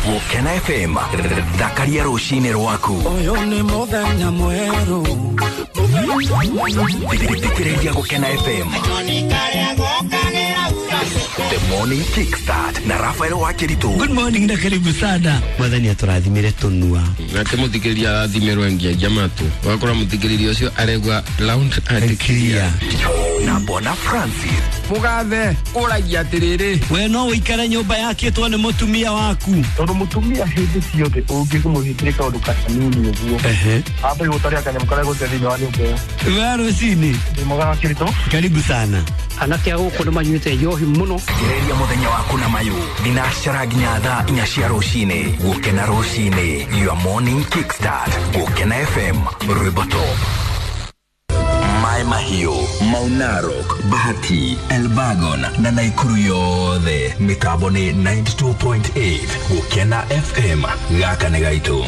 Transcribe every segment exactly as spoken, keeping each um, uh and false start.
Gũkena F M, thakaria rũcinĩ rwaku. Ũyũ nĩ mũthenya mwerũ. Thikĩrĩria Gũkena F M. The Morning Kickstart na Rafael Wakiritu. Good morning na karibu sana. Mwathani atũrathimire tũnua. Nake mũthikĩrĩria arathimirwo ngiagia matũ. Wakora mũthikĩrĩria ũcio aregwa round and clear. Na Bona Francis. Mugathe ũragia atĩrĩrĩ. We no ũikare nyũmba yakĩtwo nĩ mũtumia waku. Tondũ mũtumia hĩndĩ ciothe ũngĩmũhingĩria kaũndũ kanini ũguo. Ehe. Ambe gũtaria kanyamũ karĩa gũte thĩinĩ wa nyũmba ĩyo. We rũcinĩ. Ndĩ mwega Wakiritu. Karibu sana. Anake a gũkũ nĩ manyuĩte njohi mũno. Gereria mũthenya waku na mayũ. Thinacara nginya thaa inya cia rũcinĩ. Gũkena rũcinĩ. Your morning kickstart. Gũkena F M. Rwĩmbo top. Mai Mahiũ, Mau Narok, Bahati, Elbagon na Naikuru yothe. Mĩtambo nĩ ninety-two point eight. Gũkena F M. Gaka nĩ gaitũ.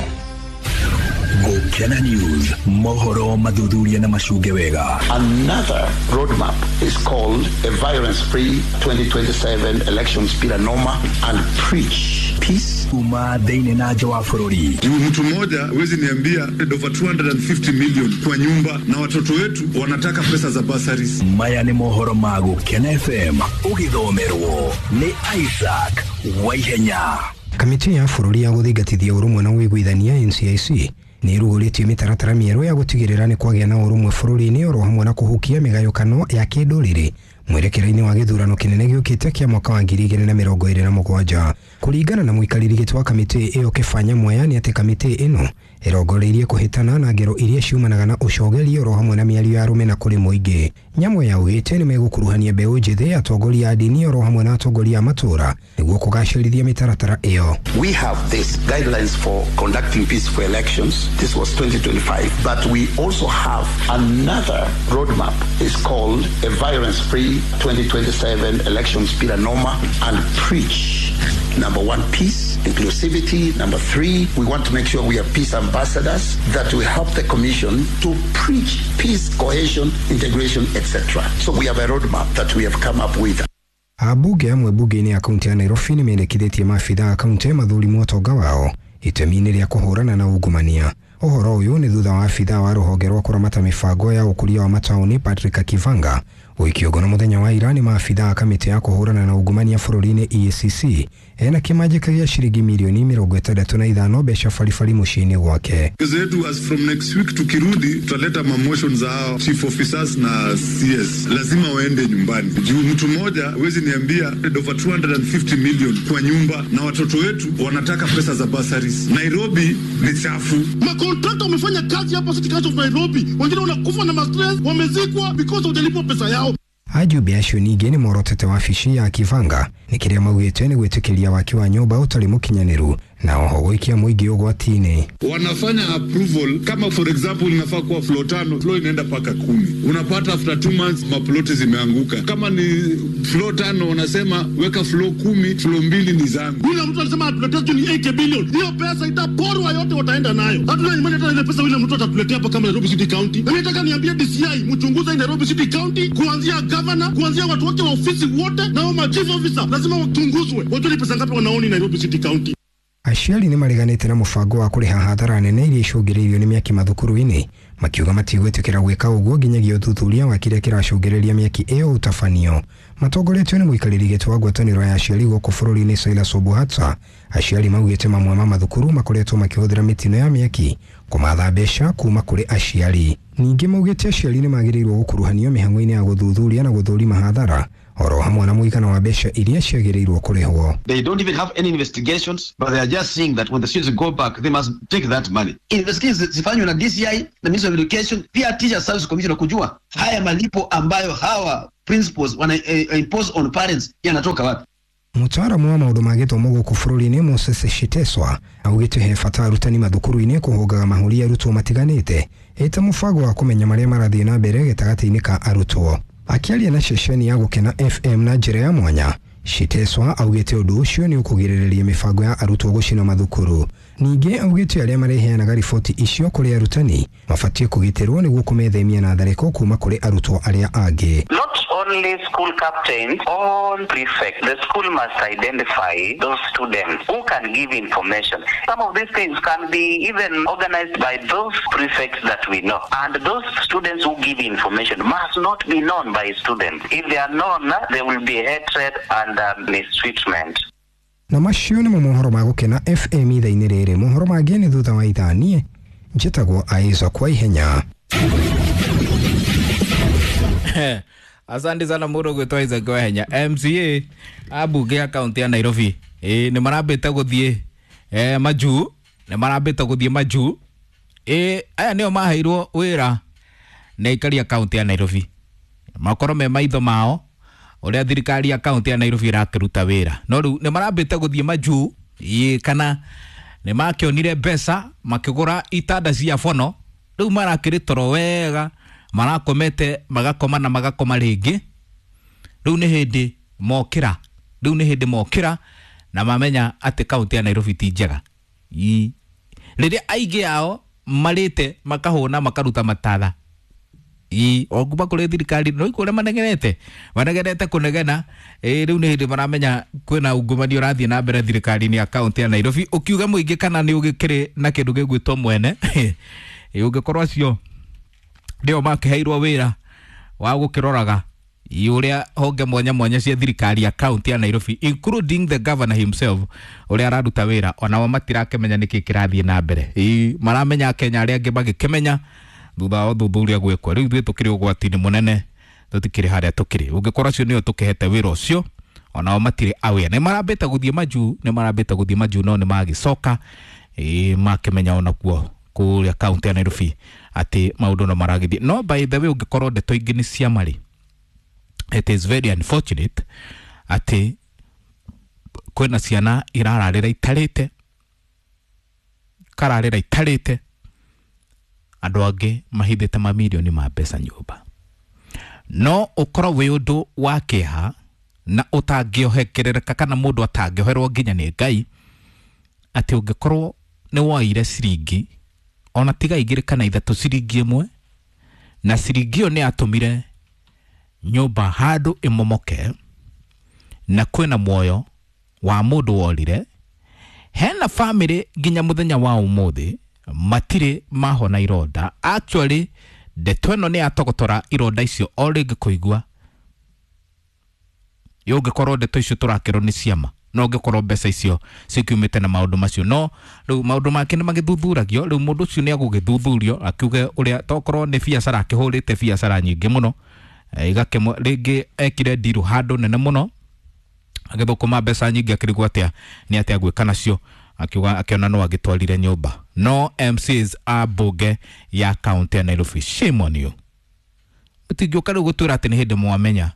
Gũkena News, mohoro mathuthuria na macunge wega. Another roadmap is called a violence-free twenty twenty-seven elections bila noma and preach peace. Uma thĩinĩ na nja wa bũrũri. Mtu mmoja huwezi niambia over two hundred fifty million kwa nyumba na watoto wetu wanataka pesa za bursaries. Maya nĩ mohoro ma Gũkena F M ũgĩthomerwo nĩ Isaac Waihenya. Kamĩtĩ ya bũrũri ya gũthingatithia ũrũmwe na ũiguithania N C I C nĩ ĩrugũrĩtie mĩtaratara mĩerũ ya gũtigĩrĩra nĩ kwagĩa na ũrũmwe bũrũri-inĩ oro hamwe na kũhukia mĩgayũkano ya kĩndũrĩrĩ mwerekera-inĩ wa gĩthurano kĩnene gĩũkĩte kĩa mwaka wa ngiri igĩrĩ na mĩrongo ĩrĩ na mũgwanja. Kũringana na mũikarĩri gĩtĩ wa kamĩtĩ ĩyo Kĩbanya Mwea nĩ atĩ kamĩtĩ ĩno ĩrongoreirie kũhĩtana na ngero iria ciumanaga na ũcogeri oro hamwe na mĩario ya rũmena kũrĩ mũingĩ. Nyamweya augĩte nĩ megũkuruhania mbeũ njĩthĩ, atongoria a ndini oro hamwe na atongoria a matũũra nĩguo kũgacĩrithia mĩtaratara ĩyo. We have these guidelines for conducting peaceful elections. This was twenty twenty-five, but we also have another roadmap. It's called a violence-free twenty twenty-seven elections bila noma and preach. Number one, peace, inclusivity. Number three, we want to make sure we are peace ambassadors that will help the commission to preach peace, cohesion, integration, et cetera. So we have a roadmap that we have come up with. Abunge amwe bunge-inĩ ya kaunti ya Nairobi nĩ mendekithĩtie maabitha a kaunti mathũrimwo ũtonga wao itemi-inĩ rĩa kũhũrana na ungumania. Ũhoro ũyũ nĩ thutha wa abitha wa rũhonge rwa kũramata mĩbango ya ũkũria wa mataũni Patrick Kivanga gũikio ngono mũthenya wa ira nĩ maabitha a kamĩtĩ ya kũhũrana na ungumania bũrũri-inĩ E A C C ena kĩmanjĩka gĩa ciringi mirioni mĩrongo ĩtandatũ na ithano mbeca baribari mũciĩ-inĩ gwake. Kazi yetu as from next week tukirudi tutaleta motion za hao chief officers na C S. Lazima waende nyumbani. Juu mtu mmoja huwezi niambia over two hundred fifty million kwa nyumba na watoto wetu wanataka pesa za bursaries. Nairobi ni chafu. Makontrakta wamefanya kazi hapa City Council of Nairobi. Wengine wanakufa na stress, wamezikwa because hujalipwa pesa yao. Ajumbe acio ningĩ nĩ morotete wabici ya Kivanga nĩ kĩrĩa maugĩte nĩ gwĩtĩkĩria waki wa nyũmba ũtarĩ mũkinyanĩru na oho gũikia mũingĩ ũgwati-inĩ. Wanafanya approval kama for example inafaa kuwa floor tano, floor inaenda paka kumi. Unapata after two months maploti zimeanguka. Kama ni floor tano wanasema weka floor kumi, floor mbili ni zangu. Yule mtu alisema atuletee ni eighty billion. Hiyo pesa itaporwa yote wataenda nayo. Hatuna imani hata ile pesa yule mtu atatuletea hapa kama Nairobi City County. Na nataka niambie D C I mchunguze Nairobi City County kuanzia governor, kuanzia watu wote wa ofisi wote na wa chief officer lazima wachunguzwe. Wajue ni pesa ngapi wanaoni Nairobi City County. Aciari nĩ mareganĩte na mũbango wa kũrĩha hathara nene iria icũngĩrĩirio nĩ mĩaki mathukuru-inĩ makiuga matigwĩtĩkĩra gwĩka ũguo nginyagia ũthuthuria wa kĩrĩa kĩracũngĩrĩria mĩaki ĩyo ũtabanio. Matongoretio nĩ mũikarĩri gĩtĩ wa ngwatanĩro ya aciari gũkũ bũrũri-inĩ Silas Obuhata, aciari maugĩte mamwe ma mathukuru makoretwo makĩhũthĩra mĩtino ya mĩaki kũmatha mbeca kuma kũrĩ aciari. Ningĩ maugĩte aciari nĩ magĩrĩirwo gũkuruhanio mĩhang'o-inĩ ya gũthuthuria na gũthũrima hathara oro hamwe na mũigana wa mbeca iria ciagĩrĩirwo kũrĩhwo. They don't even have any investigations, but they are just saying that when the students go back, they must take that money. Investigations zifanywe na D C I na Ministry of Education, pia Teacher Service Commission kujua haya malipo ambayo hawa principals wana eh, impose on parents yanatoka wapi. Mũtaaramu wa maũndũ ma gĩthomo gũkũ bũrũri-inĩ Moses Shiteswa augĩte he bata arutani mathukuru-inĩ kũhũngaga mahũri arutwo matiganĩte ĩta mũbango wa kũmenya marĩa marathiĩ na mbere gĩtagatĩ-inĩ ka arutwo. Akĩaria na ceceni ya Gũkena F M na njĩra ya mwanya, Shiteswa augĩte ũndũ ũcio nĩ ũkũgirĩrĩria mĩbango ya arutwo gũcina mathukuru. Ningĩ augĩte arĩa mareheanaga riboti icio kũrĩ arutani mabatiĩ kũgitĩrwo nĩguo kũmethemia na tharĩko kuma kũrĩ arutwo arĩa angĩ. Not only school captains, all prefects. The school must identify those students who can give information. Some of these things can be even organized by those prefects that we know. And those students who give information must not be known by students. If they are known, there will be hatred and uh, mistreatment. Na macio nĩmo mohoro ma Gũkena F M ithaa-inĩ rĩrĩ. Mohoro mangĩ nĩ thutha wa ithaa. Niĩ njĩtagwo Isaac Waihenya. Asante sana mũndũ gwĩtwo Isaac Waihenya. M C A ambunge ya kaunti ya Nairobi ĩ nĩ marambĩte gũthiĩ eh majuu, nĩ marambĩte gũthiĩ majuu. Ĩ aya nĩo maheirwo wĩra nĩ aikari a kaunti ya Nairobi makorwo me maitho mao ũrĩa thirikari ya kaunti ya Nairobi ĩrakĩruta wĩra. No rĩu nĩ marambĩte gũthiĩ majuu ĩ kana nĩ makĩonire mbeca makĩgũra itanda cia bono, rĩu marakĩrĩ toro wega, marakomete magakoma na magakoma rĩngĩ. Rĩu nĩ hĩndĩ mokĩra, rĩu nĩ hĩndĩ mokĩra na mamenya atĩ kaunti ya Nairobi ti njega. Ĩ rĩrĩa aingĩ ao marĩte makahũna makaruta matatha ĩ o kuma kũrĩ thirikari no ikũrĩa manegenete manegenete kũnegena. Ĩ rĩu nĩ hĩndĩ maramenya kwĩna ungumania ũrathiĩ na mbere thirikari-inĩ ya kaunti ya Nairobi. Ũkiuga mũingĩ kana nĩ ũgĩkĩrĩ na kĩndũ gĩgwĩtwo mwene ĩ ũngĩkorwo acio nĩo makĩheirwo wĩra wa gũkĩroraga ũrĩa honge mwanya mwanya cia thirikari ya kaunti ya Nairobi including the governor himself ũrĩa araruta wĩra, onao matirakĩmenya nĩkĩ kĩrathiĩ na mbere. Ĩ maramenya Kenya arĩa angĩ magĩkĩmenya thutha wa ũthuthuria gwĩkwo. Rĩu ithuĩ tũkĩrĩ ũgwati-inĩ mũnene, tũtikĩrĩ harĩa tũkĩrĩ. Ũngĩkorwo acio nĩo tũkĩhete wĩra ũcio, onao matirĩ aware. Nĩ marambĩte gũthiĩ majuu, nĩ marambĩte gũthiĩ majuu no nĩ magĩcoka ĩ makĩmenya onakuo kũrĩa kaunti ya Nairobi atĩ maũndũ no maragĩthiĩ. No by the way, ũngĩkorwo ndeto ingĩ nĩ cia marĩ, it is very unfortunate atĩ kwĩna ciana irararĩra itarĩte, kararĩra itarĩte, andũ angĩ mahithĩte mamirioni ma mbeca nyũmba. No ũkorwo wĩ ũndũ wa kĩeha na ũtangĩohekerereka kana mũndũ atangĩoherwo nginya nĩ Ngai atĩ ũngĩkorwo nĩ woire ciringi ona tiga igĩrĩ kana ithatũ, ciringi ĩmwe, na ciringi ĩyo nĩ yatũmire nyũmba handũ ĩmomoke na kwĩna muoyo wa mũndũ worire. Hena family nginya mũthenya wa ũmũthĩ matirĩ mahona ironda. Actually ndeto ĩno nĩ yatogotora ironda icio o rĩngĩ kũigua. Ũngĩkorwo ndeto icio tũrakĩrwo nĩ ciama, no ũngĩkorwo mbeca icio cikiumĩte na maũndũ macio, no rĩu maũndũ make nĩ magĩthuthuragio. Rĩu mũndũ ũcio nĩ agũgĩthuthurio akiuge ũrĩa tokorwo nĩ biacara akĩhũrĩte biacara nyingĩ mũno, igakĩmwe rĩngĩ ekire ndiru handũ nene mũno agĩthũkũma mbeca nyingĩ akĩrigwo atĩa nĩ atĩa gwĩka nacio, akiuga akiona no agĩtwarire nyũmba. No M Cs a mbunge ya kaunti ya Nairobi, shame on you. Mũtingĩũka rĩu gũtwĩra atĩ nĩ hĩndĩ mwamenya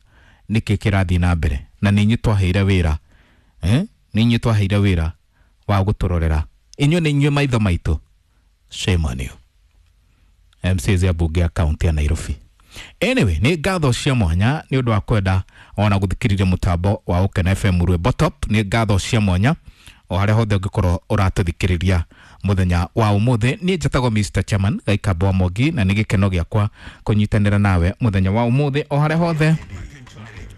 nĩkĩ kĩrathiĩ na mbere, na nĩ inyuĩ twaheire wĩra eh nĩ inyuĩ twaheire wĩra wa gũtũrorera, inyuĩ nĩ inyuĩ maitho maitũ. Shame on you, M Cs ya mbunge ya kaunti ya Nairobi. Anyway, nĩ ngatho cia mwanya nĩ ũndũ wa kwenda ona gũthikĩrĩria mũtambo wa Gũkena F M Rwĩmbo Top. Nĩ ngatho cia mwanya o harĩa hothe ũngĩkorwo ũratũthikĩrĩria mũthenya wa ũmũthĩ. Niĩ njĩtagwo Mister Chairman Gaikamba wa Mwangi, na nĩ gĩkeno gĩakwa kũnyitanĩra nawe mũthenya wa ũmũthĩ o harĩa hothe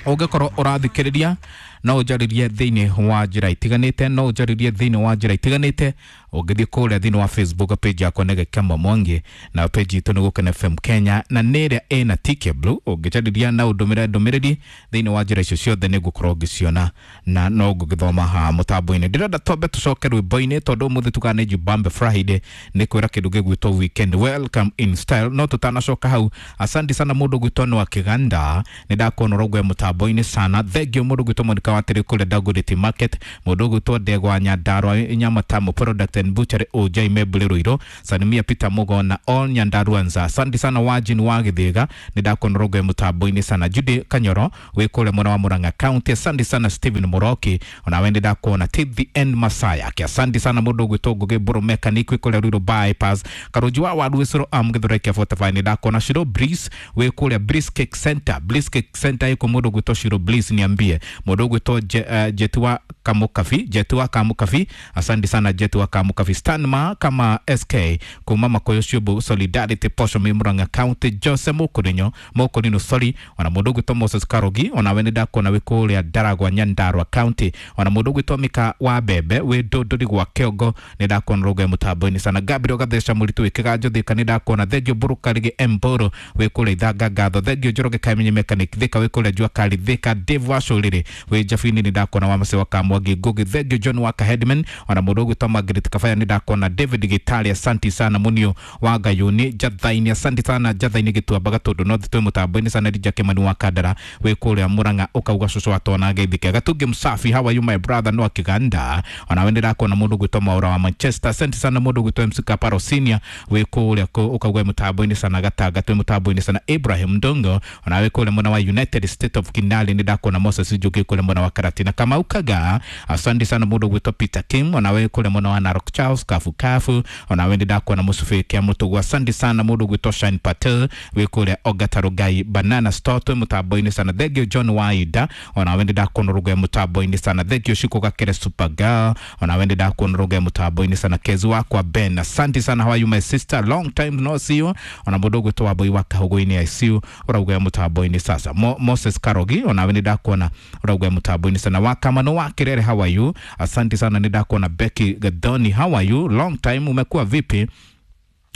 ũngĩkorwo ũrathikĩrĩria. No ũnjarĩrie thĩinĩ wa njĩra itiganĩte, no ũnjarĩrie thĩinĩ wa njĩra itiganĩte. Ũngĩthiĩ kũrĩa thĩinĩ wa Facebook page yakwa nĩ Gĩkamba Mwangi, na page itũ nĩ Gũkena F M Kenya, na nĩ ĩrĩa ĩna T K Blue. Ũngĩnjarĩria na ũndũmĩre ndũmĩrĩri thĩinĩ wa njĩra icio ciothe nĩ ngũkorwo ngĩciona na no ngũgĩthoma haha mũtambo-inĩ. Ndĩrenda twambe tũcoke rwĩmbo-inĩ tondũ ũmũthĩ tugaga nĩ Jubambe Friday, nĩ kwĩra kĩndũ gĩgwĩtwo weekend welcome in style. No tũtanacoka hau, asante sana mũndũ gwĩtwo Noah Kĩganda, nĩ ndakuona ũraugua mũtambo-inĩ sana. Thank you mũndũ gwĩtwo Monica Watĩrĩ kũrĩa Dagoretti Market, mũndũ gwĩtwo Ndegwa Nyandarua Nyamatamu Product and Butchery O J Mebule Ruiro, Salimia Peter Mugo na all Nyandaruanza. Asante sana Wajin wa Githiga, nĩ ndakuona ũraugua mũtambo-inĩ sana. Judy Kanyoro wĩ kũrĩa mwena wa Murang'a County, asante sana Stephen Muroki, ona we nĩ ndakuona till the end Masaya. Asante sana mũndũ gwĩtwo Ngugi Mburu Mechanic wĩ kũrĩa Ruiru Bypass, Karũnji wa Waru Wĩcũrũ am Gĩthũrai kĩa forty-five, nĩ ndakuona Shiro Breeze wĩ kũrĩa Breeze Cake Center, Breeze Cake Center ĩkũ mũndũ gwĩtwo Shiro Breeze, niambie mũndũ gwĩtwo Je, uh, Jetua Kamukabi Jetu wa Kamukabi, asante sana Jetu wa Kamukabi. Stanma kama S K kuma Makoyo Shubu Solidarity Posho Murang'a County, Jose Mukurinyo Mukurino sorry, ona mundu gwitwo Moses Karogi ona we nindakona wi kuria Ndaragwa Nyandarua County, ona mundu gwitwo Mika wa Bebe wi Ndunduri gwa Kiongo nindakona ruge mutambo-ini sana. Gabriel Gatheca Muritu wi Kiganjo Thika nindakona. Thengio Mburukarigi Mburu wi kuria Ithanga Ngatho. Thengio Njoroge Kamenyi Mechanic Thika wi kuria Jua Kali Thika. Dave Wacuriri wi Jabini nindakona wa Macewa Kamwangi Ngugi. Thengio John Waka Headman ona mundu gwitwo Margaret Kabaya nindakona. David Gitari asanti sana. Munio wa Ngayuni Jathaini asanti sana. Jathaini Gituamba Gatundu North twi mutambo-ini sana. Rija Kimani wa Kandara wi kuria Murang'a ukauga cucu atona geithike. Gatungi Msafi how are you my brother no Kiganda ona we ndakona mundu gwitwo Maura wa Manchester asante sana. Mundu gwitwo M C Kaparo Senior wi kuria ukauga mutambo-ini sana. Gatanga twi mutambo-ini sana. Ibrahim Ndongo ona we kuria mwena wa United State of Kinali ndakona. Moses Njuki kuria mwena wa Karatina Kamau Kaga asante sana. Mundu gwitwo Peter Kim ona we kuria mwena wa Narok Charles Kafu Kafu ona we ndakona. Musufi kia Mutugu asante sana. Mundu gwitwo Shine Patel wi kuria Ogatarugai Banana Store twi mutambo-ini sana. Thengio John Waida ona we ndakona ruge mutambo-ini sana. Thengio Shiko Gakere Supergirl ona we ndakona ruge mutambo-ini sana. Kezu wakwa Ben asante sana. How are you my sister, long time no see you. Ona mundu gwitwo Wambui wa Kahugu-ini I C U urauga mutambo-ini sasa. Mo, Moses Karogi ona we ndakona urauga mutambo-ini sana. Wakamano wa Kirere how are you asante sana. Ndakona Becky Gadoni how are you, long time, umekuwa vipi?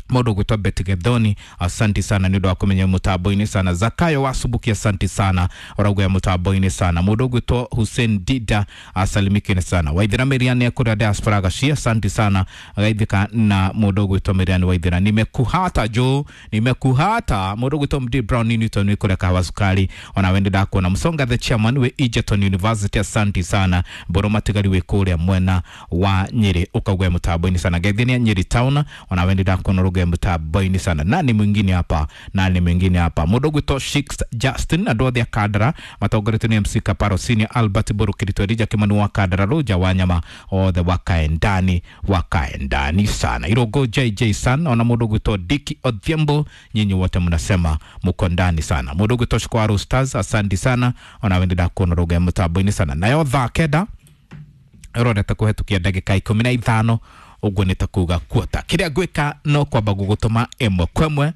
Mundu gwitwo Betty Gethoni asante sana ni undu wa kumenya mutambo-ini sana. Zakayo Wasubuki asante sana urauga mutambo-ini sana. Mundu gwitwo Hussein Dida asalimikine sana. Waithira Miriam akuria diaspora gacia asante sana gaithika na mundu gwitwo Miriam Waithira nimekuhata jo nimekuhata. Mundu gwitwo M D Brown Newton ni kuria Kahawa Sukari ona wende ndakuona. Musonga the chairman we Egerton University asante sana. Mboro Matigari we kuria mwena wa Nyeri ukauga mutambo-ini sana. Gaithenia Nyeri town ona wende ndakuona mutambo-ini sana. Nani mwingine hapa, nani mwingine hapa? Mundu gwitwo Shix Justin andu othe a Kandara matongoretio ni M C Kaparo Senior Albert Burukirito Elija Kimani wa Kandara Ruja Wanyama othe wakae ndani wakae ndani sana. Irogo J J San ona mundu gwitwo Diki Odhiambo nyinyi wote mnasema muko ndani sana. Mundu gwitwo Shikwaru Stars asante sana ona wende ndakuona ruge mutambo-ini sana. Nayo thaa kenda ĩrorete kũhetũkia ndagĩka ikũmi na ithano ũguo nĩ ta kuga kuota kĩrĩa ngwĩka no kwamba gũgũtũma ĩmwe kwa ĩmwe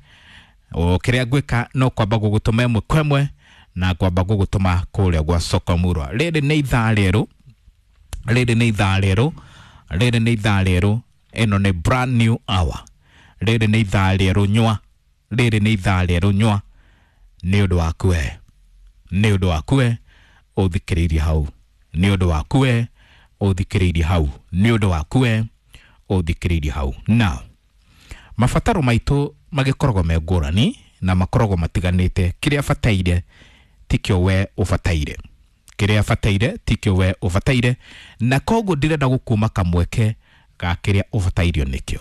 o kĩrĩa ngwĩka no kwamba gũgũtũma ĩmwe kwa ĩmwe na kwamba gũgũtũma kũrĩa gwa soko murwa. Rĩrĩ nĩ ithaa rĩerũ, rĩrĩ nĩ ithaa rĩerũ, rĩrĩ nĩ ithaa rĩerũ, ĩno nĩ brand new hour. Rĩrĩ nĩ ithaa rĩerũ nyua, rĩrĩ nĩ ithaa rĩerũ nyua, nĩ ũndũ waku we, nĩ ũndũ waku we ũthikĩrĩirie hau, nĩ ũndũ waku we ũthikĩrĩirie hau, nĩ ũndũ waku we ũthikĩrĩirie hau. Now mabataro maitũ magĩkoragwo me ngũrani na makoragwo matiganĩte. Kĩrĩa bataire tikĩo we ũbataire, kĩrĩa bataire tikĩo we ũbataire, na koguo ndĩrenda gũkuma kamweke ga kĩrĩa ũbatairio nĩkĩo.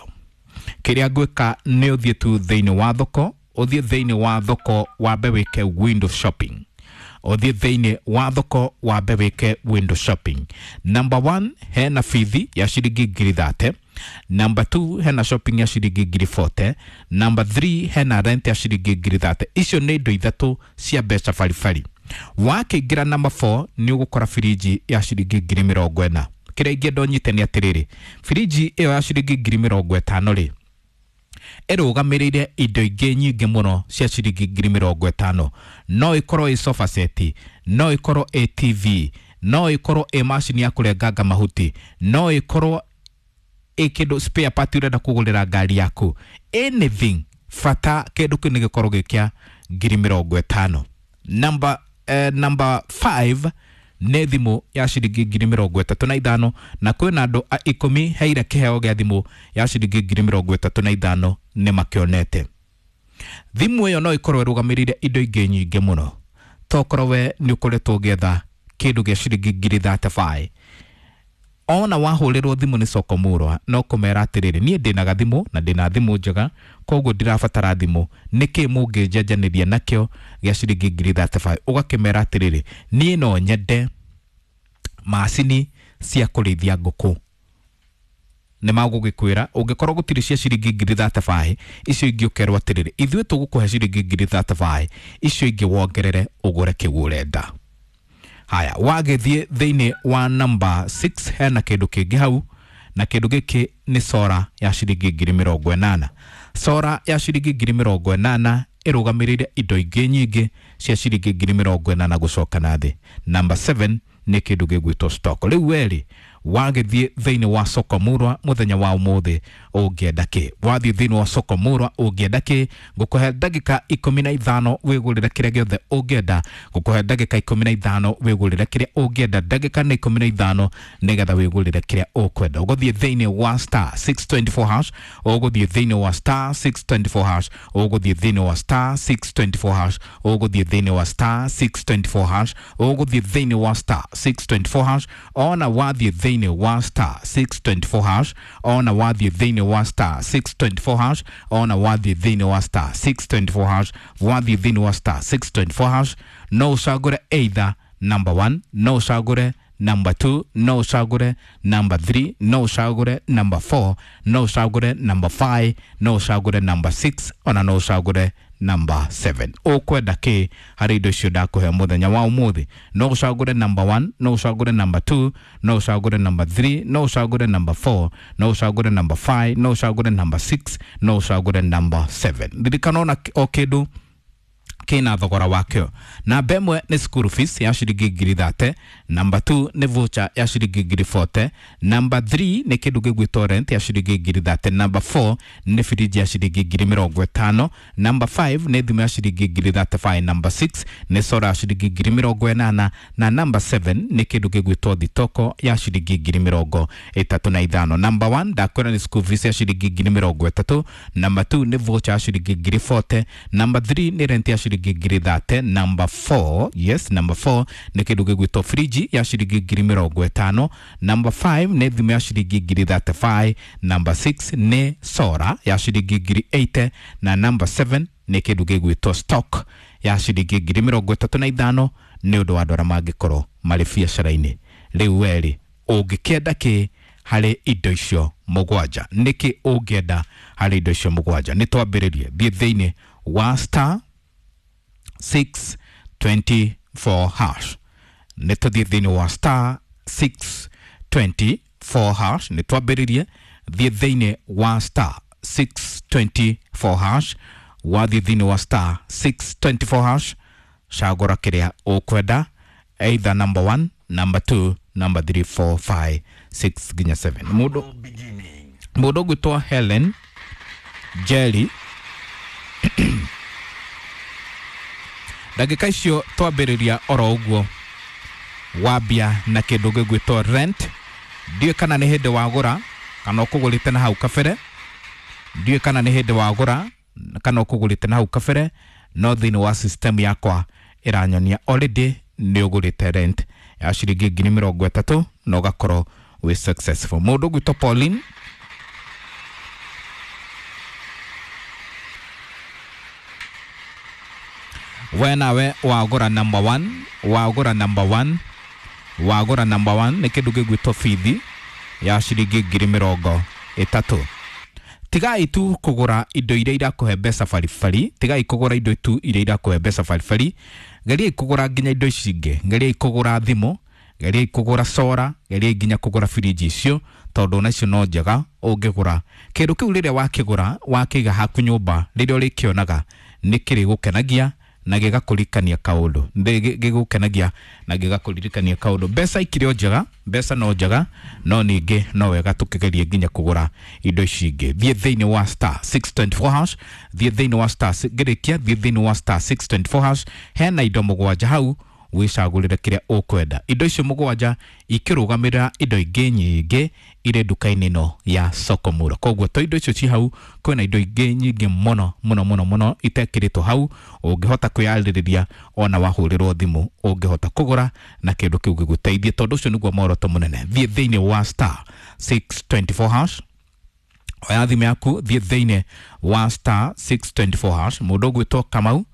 Kĩrĩa ngwĩka nĩ ũthiĩ tu thĩinĩ wa thoko, ũthiĩ thĩinĩ wa thoko wambe wĩke window shopping, ũthiĩ thĩinĩ wa thoko wambe wĩke window shopping. Number one hena bithi ya ciringi ngiri thate. Number two hena shopping ya ciringi ngiri forty. Number three hena rent ya ciringi ngiri thate. Icio nĩ indo ithatũ cia mbeca baribari. Wakĩingĩra number four nĩ ũgũkora firiji ya ciringi ngiri mĩrongo ĩna. Kĩrĩa ingĩenda ũnyite nĩ atĩrĩrĩ, firiji ĩyo ya ciringi ngiri mĩrongo ĩtano rĩ ĩrũgamĩrĩire indo ingĩ nyingĩ mũno cia ciringi ngiri mĩrongo ĩtano. No ĩkorwo ĩ sofa set, no ĩkorwo ĩ T V, no ĩkorwo ĩ macini ya kũrenganga mahuti, no ĩkorwo ĩ kĩndũ spare part ũrenda kũgũrĩra ngari yaku, anything bata kĩndũ kĩu nĩ gĩkorwo gĩ kĩa ngiri mĩrongo ĩtano. Number eh, number five nĩ thimũ ya ciringi ngiri mĩrongo ĩtatũ na ithano, na kwĩna andũ a ikũmi heire kĩheo gĩa thimũ ya ciringi ngiri mĩrongo ĩtatũ na ithano nĩ makĩonete. Thimũ ĩyo no ĩkorwo ĩrũgamĩrĩire indo ingĩ nyingĩ mũno. Tokorwo we nĩ ũkoretwo ũgĩetha kĩndũ gĩa ciringi ngiri thirty-five, ona wahũrĩrwo thimũ nĩ soko murwa no kũmera atĩrĩrĩ, niĩ ndĩna gathimũ na ndĩna thimũ njega koguo ndirabatara thimũ, nĩkĩ mũngĩnjenjanĩria nakĩo gĩa ciringi ngiri thirty-five? Ũgakĩmera atĩrĩrĩ, niĩ no nyende macini cia kũrĩithia ngũkũ. Nĩ magũgĩkwĩra ũngĩkorwo gũtirĩ cia ciringi ngiri thirty-five, icio ingĩ ũkerwo atĩrĩrĩ, ithuĩ tũgũkũhe ciringi ngiri thirty-five, icio ingĩ wongerere ũgũre kĩu ũrenda. Haya, wagĩthiĩ thĩinĩ wa number six hena kĩndũ kĩngĩ hau, na kĩndũ gĩkĩ nĩ sora ya ciringi ngiri mĩrongo ĩnana. Sora ya ciringi ngiri mĩrongo ĩnana ĩrũgamĩrĩire indo ingĩ nyingĩ cia ciringi ngiri mĩrongo ĩnana gũcoka na thĩ. Number seven nĩ kĩndũ gĩgwĩtwo stock. Rĩu werĩ wagĩthiĩ thĩinĩ wa soko murwa mũthenya wa ũmũthĩ ũngĩenda kĩ? Wathiĩ thĩinĩ wa soko murwa ũngĩenda kĩ? Ngũkũhe ndagĩka ikũmi na ithano wĩgũrĩre kĩrĩa gĩothe ũngĩenda. Ngũkũhe ndagĩka ikũmi na ithano wĩgũrĩre kĩrĩa ũngĩenda. Ndagĩka nĩ ikũmi na ithano nĩgetha wĩgũrĩre kĩrĩa ũkwenda. Ũgũthiĩ thĩinĩ wa star six twenty four hash, ũgũthiĩ thĩinĩ wa star six twenty four hash, ũgũthiĩ thĩinĩ wa star six twenty four hash, ũgũthiĩ thĩinĩ wa star six twenty four hash, ũgũthiĩ thĩinĩ wa star six twenty four hash. Ona wathiĩ thĩinĩ wa star six twenty four hash, ona wathiĩ thĩinĩ wa star six twenty four hash, ona wathiĩ thĩinĩ wa star six twenty four hash, wathiĩ thĩinĩ wa star six twenty four hash, no ũcagũre either number one, no ũcagũre number two, no ũcagũre number three, no ũcagũre number four, no ũcagũre number five, no ũcagũre number six, ona no ũcagũre number seven. Ũkwenda kĩ harĩ indo icio ndakũhe mũthenya wa ũmũthĩ? No ũcagũre number one, no ũcagũre number two, no ũcagũre number three, no ũcagũre number four, no ũcagũre number five, no ũcagũre number six, no ũcagũre number seven. Ririkana ona o kĩndũ kĩna thogora wakĩo. Namba ĩmwe nĩ school fees ya ciringi ngiri thate, number two nĩ voucher ya ciringi ngiri forty, number three nĩ kĩndũ gĩgwĩtwo rent ya ciringi ngiri thate, number four nĩ fridge ya ciringi ngiri mĩrongo ĩtano, number five nĩ thimũ ya ciringi ngiri thirty five, number six nĩ solar ya ciringi ngiri mĩrongo ĩnana, na number seven nĩ kĩndũ gĩgwĩtwo thitoko ya ciringi ngiri mĩrongo ĩtatũ na ithano. Number one ndakwĩra nĩ school fees ya ciringi ngiri mĩrongo ĩtatũ, number two nĩ voucher ya ciringi ngiri forty, number three nĩ rent ya ciringi ngiri thate, number four, yes, number four nĩ kĩndũ gĩgwĩtwo fridge ya ciringi ngiri mĩrongo ĩtano, number five nĩ thimũ ya ciringi ngiri thirty five, number six nĩ solar ya ciringi ngiri eighty, na number seven nĩ kĩndũ gĩgwĩtwo stock ya ciringi ngiri mĩrongo ĩtatũ na ithano nĩ ũndũ wa andũ arĩa mangĩkorwo marĩ biacara-inĩ. Rĩu werĩ ũngĩkĩenda kĩ harĩ indo icio mũgwanja? Nĩkĩ ũngĩenda harĩ indo icio mũgwanja? Nĩ twambĩrĩrie. Thiĩ thĩinĩ wa star six twenty four hash. Nĩ tũthiĩ thĩinĩ wa star six twenty four hash. Nĩ twambĩrĩrie. Thiĩ thĩinĩ wa star six twenty four hash. Wathiĩ thĩinĩ wa star six twenty four hash, cagũra kĩrĩa ũkwenda, either number one, number two, number three, four, five, six nginya seven. Mũndũ mũndũ ũgwĩtwo Helen Jerry ndagĩka icio twambĩrĩria oro ũguo wambia na kĩndũ gĩgwĩtwo rent. Ndiũĩ kana nĩ hĩndĩ wagũra kana ũkũgũrĩte na hau kabere. Ndiũĩ kana nĩ hĩndĩ wagũra kana ũkũgũrĩte na hau kabere, no thĩinĩ wa system yakwa ĩranyonia already nĩ ũgũrĩte rent ya ciringi ngiri mĩrongo ĩtatũ na ũgakorwo wĩ successful. Mũndũ ũgwĩtwo Pauline we nawe wagũra number one, wagũra number one, wagũra number one nĩ kĩndũ gĩgwĩtwo bithi ya ciringi ngiri mĩrongo ĩtatũ. Tigai tu kũgũra indo iria irakũhe mbeca baribari, tigai kũgũra indo tu iria irakũhe mbeca baribari, geriai kũgũra nginya indo ici ingĩ, geriai kũgũra thimũ, geriai kũgũra sora, geriai nginya kũgũra firiji icio, tondũ ona icio no njega ũngĩgũra. Kĩndũ kĩu rĩrĩa wakĩgũra wakĩiga haku nyũmba, rĩrĩa ũrĩkĩonaga nĩ kĩrĩgũkenagia na gĩgakũririkania kaũndũ, gĩgũkenagia na gĩgakũririkania kaũndũ. Mbeca ikĩrĩ o njega, mbeca no njega, no ningĩ no wega tũkĩgerie nginya kũgũra indo ici ingĩ. Thiĩ thĩinĩ wa star six twenty four hash, thiĩ thĩinĩ wa star ngĩrĩkia, thiĩ thĩinĩ wa star six twenty four hash, hena indo mũgwanja hau wĩcagũrĩre kĩrĩa ũkwenda. Indo icio mũgwanja ikĩrũgamĩrĩra indo ingĩ nyingĩ irĩ nduka-inĩ ĩno ya Soko Murwa. Koguo to indo icio ci hau, kwĩna indo ingĩ nyingĩ mũno mũno mũno mũno itekĩrĩtwo hau, ũngĩhota kwĩyarĩrĩria ona wahũrĩrwo thimũ ũngĩhota kũgũra na kĩndũ kĩu gĩgũteithie, tondũ ũcio nĩguo muoroto mũnene. Thiĩ thĩinĩ wa star six twenty four hash, oya thimũ yaku, thiĩ thĩinĩ wa star six twenty four hash. Mũndũ ũgwĩtwo Kamau,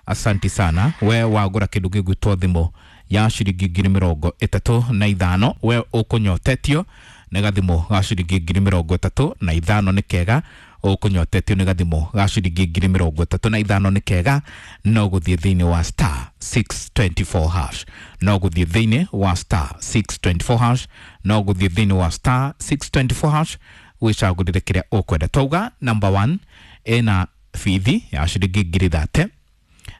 asanti sana, we wagũra kĩndũ gĩgwĩtwo thimũ ya ciringi ngiri mĩrongo ĩtatũ na ithano, we ũkũnyotetio Nĩ gathimũ ga ciringi ngiri mĩrongo ĩtatũ na ithano nĩ kega. Ũkũnyotetio nĩ gathimũ ga ciringi ngiri mĩrongo ĩtatũ na ithano nĩ kega. No gũthiĩ thĩinĩ wa star six twenty four hash, no gũthiĩ thĩinĩ wa star six twenty four hash, no gũthiĩ thĩinĩ wa star six twenty four hash wĩcagũrĩre kĩrĩa ũkwenda. Twauga number one ĩna bithi ya ciringi ngiri thate,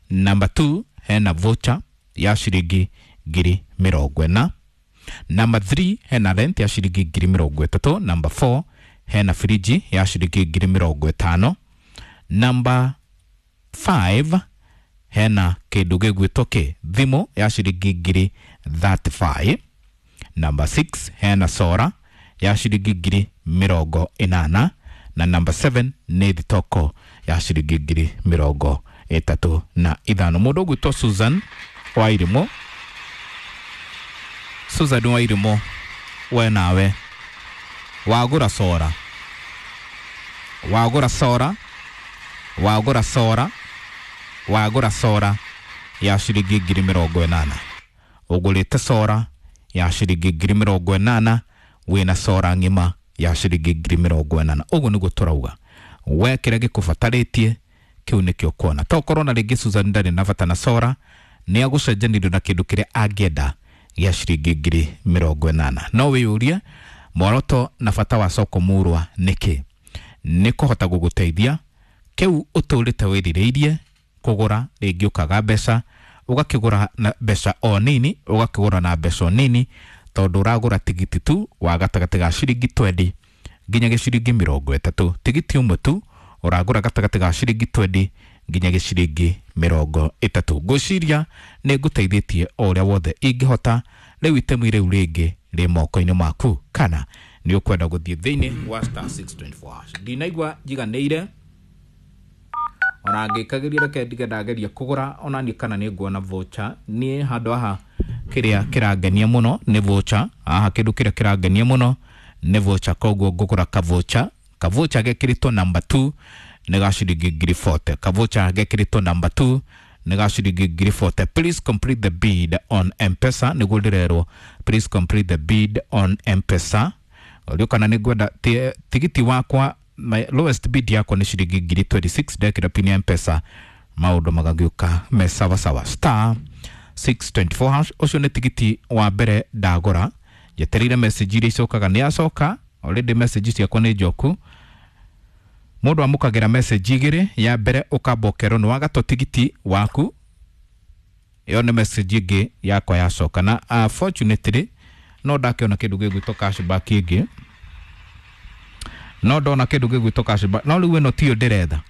number two hena voucher ya ciringi ngiri mĩrongo ĩna, number three hena rent ya ciringi ngiri mĩrongo ĩtatũ, number four hena firiji ya ciringi ngiri mĩrongo ĩtano, number five hena kĩndũ gĩgwĩtwo kĩ thimũ ya ciringi ngiri thirty five, number six hena sora ya ciringi ngiri mĩrongo ĩnana, na number seven nĩ thitoko ya ciringi ngiri mĩrongo ĩtatũ na ithano. Mũndũ ũgwĩtwo Susan Wairimu, Susan Wairimu, we nawe wagũra sora, wagũra sora, wagũra sora, wagũra sora ya ciringi ngiri mĩrongo ĩnana, ũgũrĩte sora ya ciringi ngiri mĩrongo ĩnana, wĩna sora ng'ima ya ciringi ngiri mĩrongo ĩnana. Ũguo nĩguo tũrauga, we kĩrĩa gĩkũbatarĩtie kĩu nĩkĩo kuona. Tokorwo na rĩngĩ Susan ndarĩ na bata na sora, nĩ agũcenjanĩrio na kĩndũ kĩrĩa angĩenda gĩa ciringi ngiri mĩrongo ĩnana. No wĩyũrie mworoto na bata wa soko murwa nĩkĩ? Nĩ kũhota gũgũteithia kĩu ũtũrĩte wĩrirĩirie kũgũra, rĩngĩ ũkaga mbeca, ũgakĩgũra na mbeca o nini, ũgakĩgũra na mbeca o nini, tondũ ũragũra tigiti tu wa gatagatĩ ga ciringi twendi nginya gĩciringi mĩrongo ĩtatũ. Tigiti ũmwe tu ũragũra gatagatĩ ga ciringi twendi nginya gĩciringi mĩrongo ĩtatũ. Ngwĩciria nĩ ngũteithĩtie o ũrĩa wothe ingĩhota. Rĩu itemi rĩu rĩngĩ rĩ moko-inĩ maku, kana nĩ ũkwenda gũthiĩ thĩinĩ wa star six twenty four hash. Ndinaigua njiganĩire ona ngĩkagĩria, reke ndige ndageria kũgũra ona niĩ kana nĩ nguona voucher. Niĩ handũ haha kĩrĩa kĩrangenia mũno nĩ voucher, haha kĩndũ kĩrĩa kĩrangenia mũno nĩ voucher, koguo ngũgũra ka voucher. Ka voucher gekĩrĩtwo number two nĩ ga ciringi ngiri forty. Ka voucher gekĩrĩtwo number two nĩ ga ciringi ngiri forty. Please complete the bid on M-Pesa, nĩguo ndĩrerwo, please complete the bid on M-Pesa. Ũrĩa kana nĩ ngwenda tigiti wakwa, my lowest bid yakwa nĩ ciringi ngiri twenty six, ndekĩra pin ya M-Pesa maũndũ magagĩũka me sawa sawa. Star six twenty four hash, ũcio nĩ tigiti wa mbere ndagũra. Njetereire message iria icokaga, nĩ yacoka already, message ciakwa nĩ njoku. Mũndũ amũkagĩra message igĩrĩ, ya mbere ũkamba ũkerwo nĩ wagatwo tigiti waku, ĩyo nĩ message ĩngĩ yakwa yacoka. Na unfortunately no ndakĩona kĩndũ gĩgwĩtwo cashback ĩngĩ, no ndona kĩndũ gĩgwĩtwo cashback, no rĩu ĩno tiyo ndĩretha.